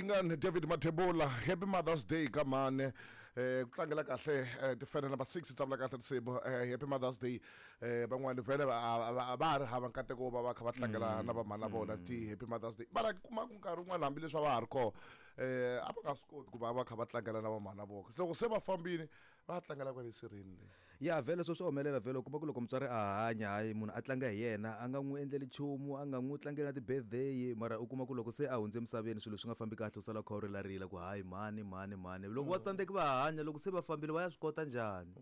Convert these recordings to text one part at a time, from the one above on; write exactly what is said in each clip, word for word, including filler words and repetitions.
Dingane David Mathebula happy Mother's Day ka mane eh ku tlangela kahle eh, tifene number six tsavula kahle tinsimu eh, happy Mother's Day eh van'wani vhele va va- va ha ri hava nkateko wo va va kha va tlangela na vamhana vona ti happy Mother's Day mara kuma ku nkarhi wun'wana hambileswi a va ha ri kona eh a va nga swi koti ku va va kha va tlangela na vamhana vona loko se va fambile va tlangela kwale sirheni le ya vhele swo swi humelela vhele u kuma ku loko mutswari a hanya hayi munhu a tlanga hi yena a nga n'wi endleli nchumu a nga n'wi tlangeli na ti-birthday mara u kuma ku loko se a hundze emisaveni swilo swi nga fambi kahle u sala u kha u rilarila ku hayi mhani mhani mhani loko va tsandzeki va hanya loko se va fambile va ya swi kota njhani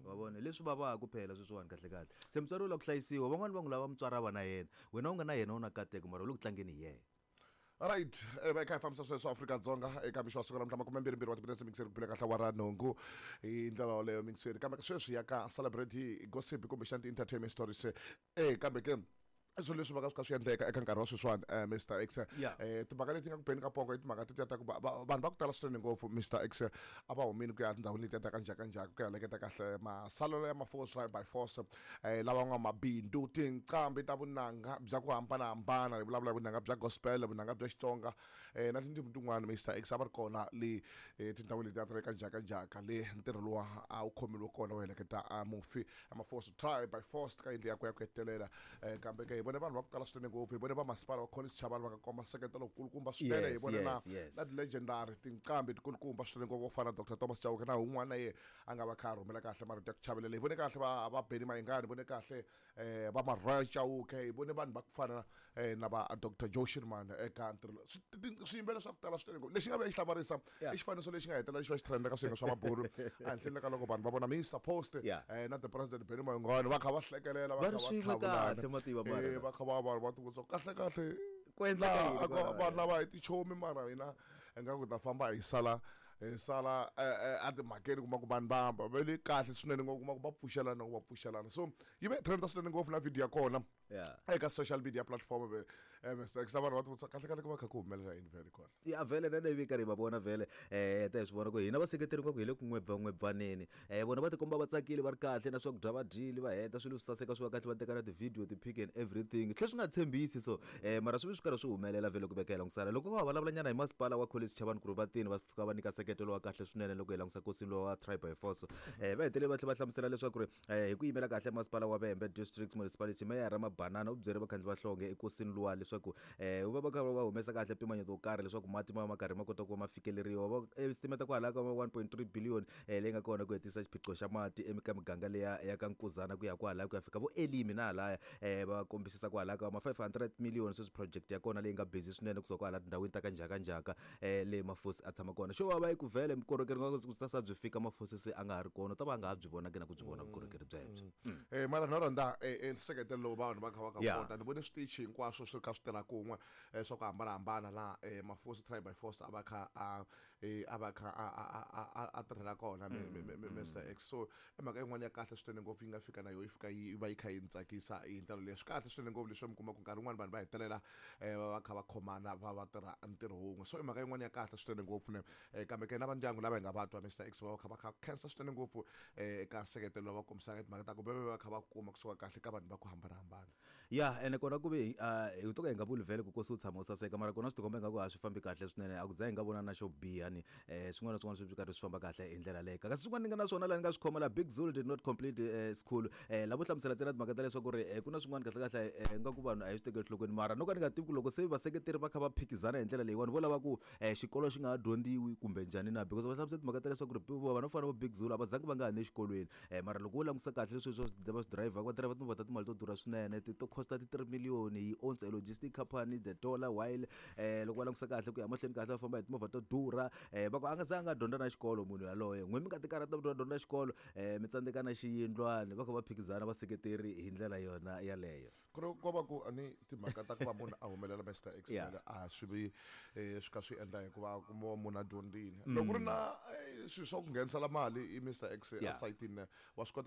wa vona leswi vavaka phela sweswiwani kahle kahle se mutswari u lava ku hlayisiwa van'wani va n'wi lava mutswari a va na yena wena u nga na yena u na kateko mara u le ku tlangeni hi yena right eh, va kha hi fambisa sweswo Afrika-Dzonga eka mixo wa siku ra makume mbirhi mbirhi wa timinetse mixeri ku bile kahle wa ra nhungu hi ndlela yoleyo mixeri kambe sweswi ya ka celebrity gossip kumbexana ti-entertainment stories eh kambe ke i swilo leswi va ka swi kha swi endleka eka nkarhi wa sweswiwani eh, Mr X Yeah. eh timhaka leti nga ku beni ka pongo i timhaka tetiya ta ku va- va- vanhu va ku tala swinene ngopfu Mr X a va humini ku ya tindhawini letiya ta ka njhakanjhaka ku ya leketa kahle masalelo ya maforce right by force eh lava nga mabindzu tinqambi ta vunanga bya ku hambanahambana hi vulavula hi vunanga bya gospel vunanga bya Xitsonga eh na tindzimi tin'wana Mr X a va ri kona le eh, tindhawini letiya ta le ka njhakanjhaka le ntirho luwa a wu khomeliwe kona wo heleketa a mufi amaforce try by force ka yindlu yakwe ya ku hetelela eh, kambe ke hi vone vanhu va ku tala swinene ngopfu hi vone va masipala wa Collins Chabane va nga komba nseketelo wukulukumba swinene hi Yes, vone na yes, yes. na ti-legendary tinqambi tikulukumba swinene ngopfu vo fana na Dr Thomas Chauke na un'wana na ye a nga va kha a rhumela kahle marito ya ku chavelela hi vone kahle va va Benny Mayengani hi vone kahle eh va Maroyal Chauke hi vone vanhu va ku fana eh, na va Dr Joe Shirimani eka ntirho lowu. Swi- ti- swiyimbelela swa ku tala swinene ngopfu lexi nga vuya xi hlamarisa Yeah. i xifaniso lexi nga hetelela xi va xi trenda ka swiyenge swa mabulu ehenhleni ka loko vanhu va vona Mr Post Yeah. eh, na the president Benny Mayengani va kha va hlekelela va Va kha ri va swin'we tlhavulana. kahle, mativa mara. Eh, va kha va va va tivutisa ku kahle kahle Ku endleka laha yini a ko- kwalaya? vanhu lava hi tichomi mara hina ingaku hi ta famba hi sala hi sala eh, eh, a timhakeni kuma ku vanhu va hamba va le kahle swinene ngopfu kuma ku va pfuxelana ku va pfuxelana so yi ve trenda swinene ngopfu na video ya kona Yeah. eka social media platform ve eh, Mr X na vanhu va tivutisa kahle kahle ku va kha ku humelela yini vhele kwala ya vhele na leyi karhi hi va vona vhele eh ta hi swi vona ku hina vaseketeri nga ku hi le ku n'webvan'webvaneni eh vona va tikomba va tsakile va ri kahle na swakudya va dyile va heta swilo swi saseka swi va kahle va teka na ti-video ti-pic and everything tlhe swi nga tshembisi so eh mara swi ve swi karhi swi humelela vhele ku veka hi langusana loko va vulavula nyana hi masipala wa Collins Chabane ku ri va tini va fika va nyika nseketelo wa kahle swinene loko hi langusa nkosini lowa tribe by force eh va hetelele va tlhela va hlamusela leswaku ri eh hi ku yimela kahle masipala wa Vhembe district municipality meyara Mabanana u byele vakhandli va hlonge ekosini luwa leswaku eh va va kha va humesa kahle mpimanyeto wo karhi leswaku mati ma va ma karhi ma kota ku va ma fikeleriwa va estimate kwalaya ka one point three billion eh leyi nga kona ku hetisa xiphiqo xa mati eka miganga leya ya ka Nkuzana ku ya kwalaya ku ya fika vo Elimi na halaya eh va kombisisa kwalaya ka ma five hundred million sweswi project ya kona leyi nga busy swinene kusuka kwala tindhawini ta ka njhakanjhaka eh le mafosi a tshama kona xo va va yi ku vhele vukorhokeri nga ku ta sa byi fika mafosi se a nga ha ri kona u ta va a nga ha byi vonaki na ku byi vona vukorhokeri byebyo Eh mara no rhandza eh eh, nseketelo lowu vanhu va kha va ka Yeah. kota ni vone switichi hinkwaswo swi kha swi tirha kun'we eh, swa ku hambanahambana laha eh, mafosi tribe by force a va kha a eh, a va kha a a a a- a tirhela kona mi- mi- mi- mi- Mr X so i mhaka yin'wana ya kahle swinene ngopfu yi nga fika na yo yi fika yi va yi kha yi ni tsakisa hi ndlela leyi swi kahle swinene ngopfu leswi mi kuma ku nkarhi wun'wani vanhu va hetelela eh, va va kha va khomana va va tirha ntirho wun'we so i mhaka yin'wana ya kahle swinene ngopfu ne eh, kambe ke na va ndyangu lava hi nga va twa Mr X va va kha va kha khensa swinene ngopfu eh, eka nseketelo lowu va kombisaka timhaka ta ku va va kha va kuma kusuka kahle ka vanhu va ku hambanahambana ya ene kona ku ve uh, hi to ka hi nga vuli vhele ku kosi u tshama u saseka mara kona swi tikomba ingaku a swi fambi kahle swinene a ku za hi nga vona na xo biha ni eh, swin'wana na swin'wana swi karhi swi famba kahle hi ndlela leyo kasi swin'wana ni nga na swona laha ni nga swi khoma la Big Zulu did not complete eh, school eh, lavo hlamusela ntsena timhaka ta leswaku ri eh, ku na swin'wana kahle kahle eh, nga ku vanhu a hi swi tekeli enhlokweni mara no ka ni nga tivi ku loko se vaseketeri va kha va phikizana hi ndlela leyiwani vo lava ku eh, xikolo xi nga ha dyondziwi kumbe njhani na because va hlamusela timhaka ta leswaku ri vanhu vo fana vo Big Zulu a va zangi va nga ha ni exikolweni eh, mara loko wo langusa kahle leswi swa va swi driver va driver timovha ta timali to durha swinene ti to costa ti three million he owns a logistic company the dollar while eh, loko va langusa kahle ku ya mahlweni kahle va famba hi timovha to durha eh, va ku a nga zanga a dyondza na xikolo munhu yaloye n'we mi nga ti karhata ku dyondza xikolo eh, mi tsandzeka na xiyindlwani va kha va phikizana vaseketeri hi ndlela yona yaleyo ku ri ko va ku a ni timhaka ta ku va munhu a humelela Mr X Yeah. vhele a swi vi eh, swi ka swi endla hikuva kuma munhu a dyondzile loko ku ri na eh, swilo swa ku nghenisela mali i Mr X Yeah. esayitini wa swi kota ku